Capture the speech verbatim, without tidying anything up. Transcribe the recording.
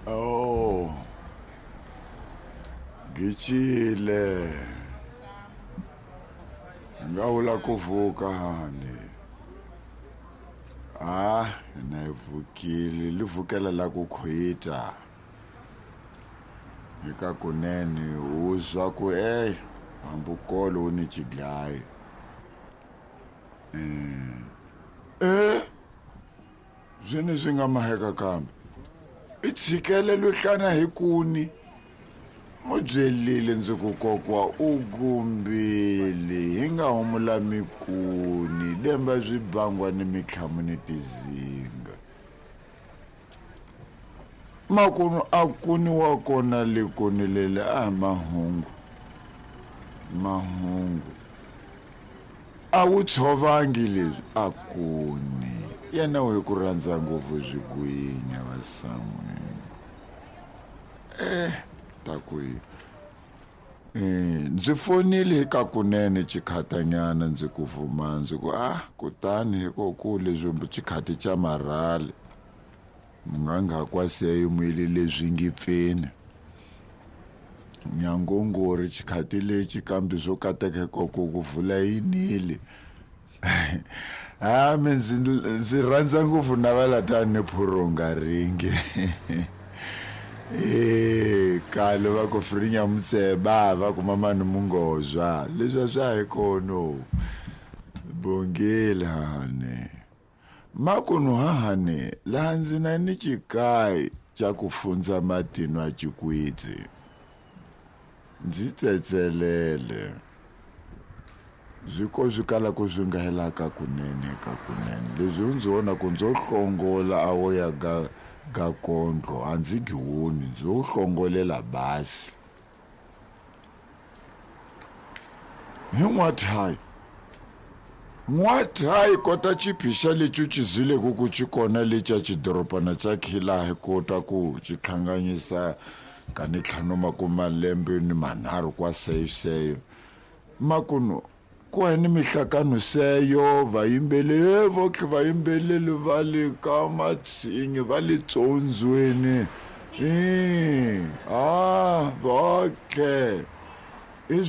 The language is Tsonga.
Oh, Gichile. Nga vula ku vuka hani. Ah, na yi vukile li vukela la ku khwita. Eka kunene u zwa ku ey hambukolo wu ni xidlayi. Eh, eh zwene swi nga maheka kambe. I tshikele luhlana hi kuni. Mu byelile ndzi ku kokwa u gumbile hi nga humula mikuni demba swibangwa ni mitlhamu ni tizinga. Makunu a kuni wa kona le kuni lele a mahungu. Mahungu. A wu tshovangi leswi a kuni. Yena u hi ku rhandza ngopfu swigwinya vasan'wini. Eh, ta ku yi. Eh, ndzi fonile hi ka kunene xikhatanyana ndzi ku vuma ndzi ku ah kutani hi ko ku leswi xikhati xa marhali. Munganga kwa seyo mwile leswi ngi pfeni. Nyangongori xikhati lexi kambe swo kateka koko ku vula yinile. Ah, mi ndzi ndzi rhandza ngopfu navela tani phurunga ringi. Eh, kale va ku frinya mutseba va ku mama ni mungozwa. Leswi a swa hi kono. Bongile hane. Makunu hahane laha ndzi na ni xikayi xa ku fundza matino a xikwitsi. Ndzi tsetselele. Swi ko swi kala ku swi nga helaka kunene ka kunene. Leswi u ndzi vona ku ndzo hlongola a wo ya ga ga kondlo a ndzi giwoni ndzo hlongolela basi. Hi n'wathayi. N'wathayi kota xiphixa lexi u xi zwileke ku xi kona lexa xidorobana xa Khila hi kota ku xi hlanganyisa ka ni ntlhanu makume malembe ni manharhu kwa seyo. Makunu ku ni mihlakano seyo vayimbeleri votlhe vayimbeleri va le ka matshinyi va le tsondzweni. Eh, ah, votlhe. I swa